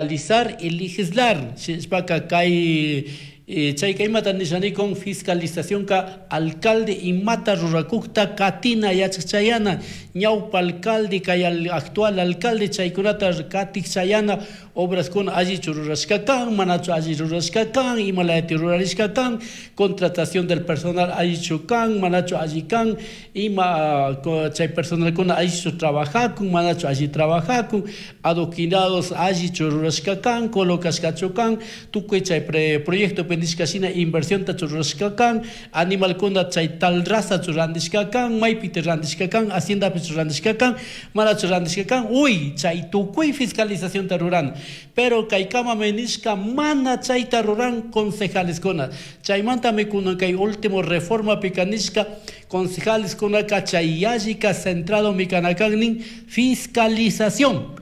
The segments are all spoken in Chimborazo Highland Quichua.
Fiscalizar y legislar. Shinashpaka kay chayka imata nisha nikun fiscalizacionka alcalde imata rurakukta katina yachak chayana, ñawpa alcalde kay actual alcalde chaykunata katik chayana, obraskuna allichu rurashka kan, manachu alli rurashka kan, imalayati rurarishka kan, contratación del personal allichu kan, manachu alli kan, ima chay personalkuna allichu trabajakun, manachu alli trabajakun, adoquinados allichu rurashka kan, colocashkachu kan, tukuy chay proyectopi nishka shina inversiontachu rurashka kan, animalkuna chay tal razachu randishka kan, maypiti randishka kan, haciendapichu randishka kan, manachu randishka kan, uy, chay tukuy fiscalizacionta ruran. Pero kaykamami nishka mana chayta ruran concejaleskuna. Chaymantami kunan kay último reformapika nishka concejaleskunaka chay yallika centradomi kana kan nin fiscalización.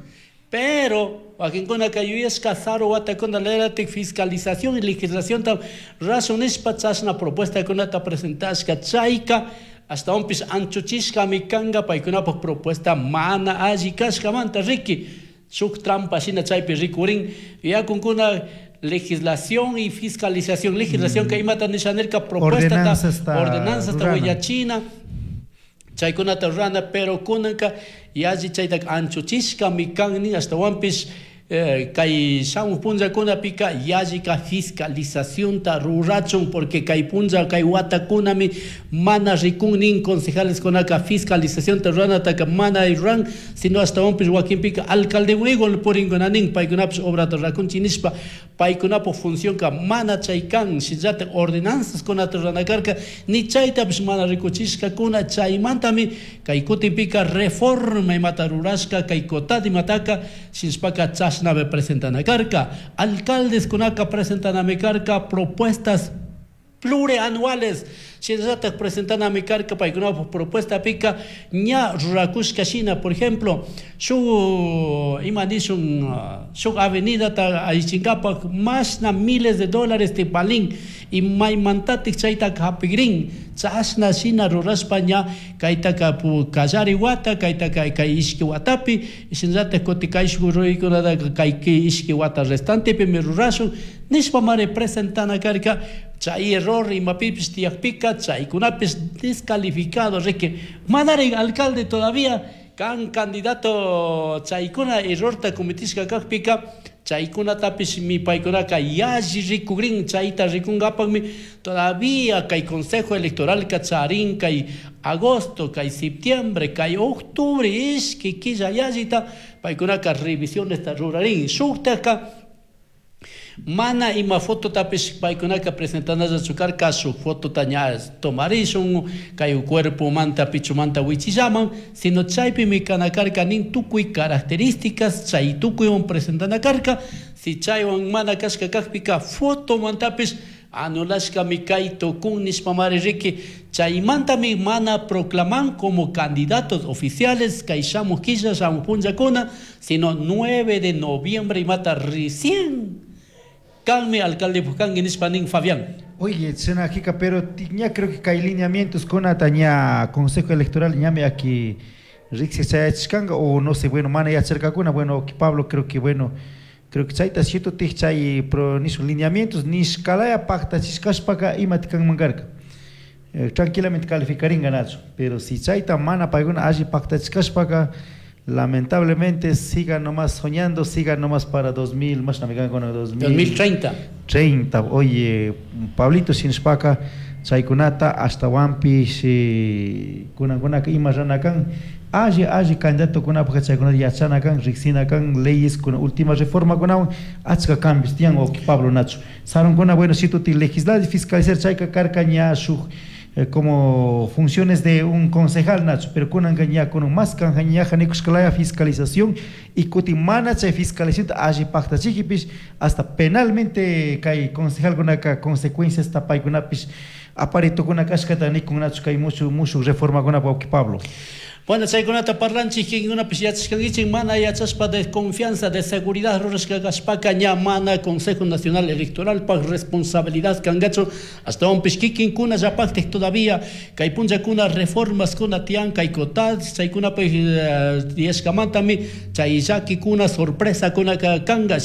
Pero wakinkunaka yuyashka saru watakuna leratik fiscalización y legislacionta rashun nishpa chashna propuestakunata presentashka chayka ashtawanpish anchuchishkami kanka paykunapak propuesta mana alli kashkamanta riki shuk trampa shina chaypi rikurin yakunkuna legislación y fiscalización. Legislación que imata nisha nirka propuesta ordenanzasta willachina chaykunata rurana, pero kunanka yalli chaytaka anchuchishkami kan nin ashtawanpish kay shamuj punllakunapika yallika fiscalizacionta rurachun, porque kay punlla kay watakunami mana rikun nin concejaleskunaka fiscalizacionta ruranataka mana ruran, sino ashtawanpish wakinpika alcaldewan igual purinkuna nin paykunapish obrata rurakunchik nishpa paykunapuk funcionka mana chay kan, shinallatak ordenanzaskunata rurana karka ni chaytapish mana rikuchishkakuna. Chaymantami kay kutinpika reforma imata rurashka kay COTAD imataka shinashpaka chashnami presentana karka, alcaldeskunaka presentanami karka propuestas plurianuales, shinallatak presentanami karka paykunapuk propuestapika ña rurakushka shina, por ejemplo, shuk ima nishun shuk avenidata allichinkapak mashna miles de dólares tivalin y maymantatik chaytaka hapikrin, chashna shina rurashpa ña kaytaka kallari wata kaytaka kay ishki watapi shinallatak kutin kayshuk ruraykunataka kay ishki wata restantepimi rurashun nishpa mari presentana karka. Chay error imapipish tiyakpika chaykunapish descalificado riki manari alcalde todavía kan candidato chaykuna errorta cometishka kakpika chaykunatapish mi paykunaka yalli rikukrin chayta rikunkapakmi todavía kay consejo electoral ka charin kay agosto kay septiembre kay octubre ishki killa yallita paykunaka revisionesta rurarin shuktaka mana ima fototapish paykunaka presentanallachu karka shuk fotota ña tomarishun kay cuerpomanta pichumanta wichillaman, sino chaypimi kana karka nin tukuy características chay tukuywan presentana karka, si chaywan mana kashka kakpika fotomantapish anulashkami kay tukun nishpamari riki chaymantami mana proclaman como candidatos oficiales kay shamuj killa shamuj punllakuna, sino 9 de noviembre imata recién kanmi alcalde kanki nishpa nin Fabián. Oye, Senajika, pero ña creo que kay lineamientos kunata ña Consejo Electoral ñami aquí riksi chayachishkanka o no sé, bueno, mana yacharkakuna, bueno, Pablo creo que bueno, creo que chayta cierto tij chay pro nishun lineamientos nishkalaya paktachishkashpaka imati kanman karka. Tranquilamente calificaringa nachu, pero si chayta mana paykuna alli paktachishkashpaka lamentablemente sigan nomás soñando, sigan nomás para 2000, más no me con 2030. 30. Oye, Pablito shinashpaka chaykunata ashtawanpish kunankunaka ima rana kan alli alli candidatokunapaj chaykunata yachana kan riksina kan leyes kuna última reforma kunawan achka cambios tiyan o Pablo Nacho sarunkuna bueno si tuti legislar y fiscalizar chayka karka ña shuk como funciones de un concejal Nacho, pero kunanka ña kunun más kanja ñaja nikushkalaya fiscalización y kutin mana chay fiscalización alli paktachikipish hasta penalmente kay concejal kunaka consecuencias tapaykunapish aparitukuna kashkata nikun Nacho kay mushu mushu reformakunapa wawqi Pablo. Bueno, chaykunata parlanchik kikinkunapish yachashkankichik mana yachashpa de confianza de seguridad rurashka kashpaka ña mana Consejo Nacional Electoralpaj responsabilidad kankachu ashtawanpish kikinkuna llapaktik todavía kay punllakuna reformaskuna tiyan kay COTAD chaykunapish tiyashkamantami chay llakikuna sorpresakuna kanka.